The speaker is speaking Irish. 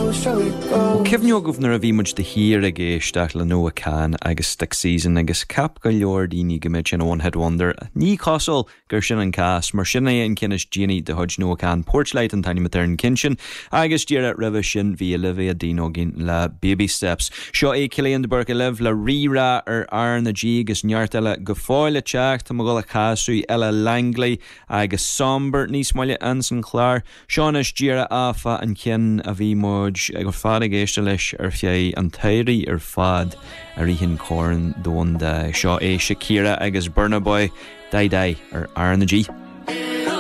Bhfuil cuimhne agaibh nuair a bhí muid de shíor ag éisteacht le Noah Kahan agus Stick Season agus cheap go leor daoine go mbeadh sin One Hit Wonder? Ní cosúil gur sin an cás, mar sin é an ceann is déanaí de chuid Noah Kahan, Porchlight an t-ainm atá ar an gceann sin, agus díreach roimhe sin bhí Olivia Dean againn le Baby Steps. Seo é Cillian de Búrca libh le Rí-Rá ar R na G agus neart eile go fóill le teacht. Tá mé ag dul a chasadh Ella Langley agus Somber níos moille ins an chlár. Seo anois díreach áfach an ceann a bhí muid ar fad ag éisteacht leis ar feadh an tsamhraidh ar fad i rith an Chorn Domhanda. Seo é Shakira agus Burna Boy, Dai Dai ar R na G.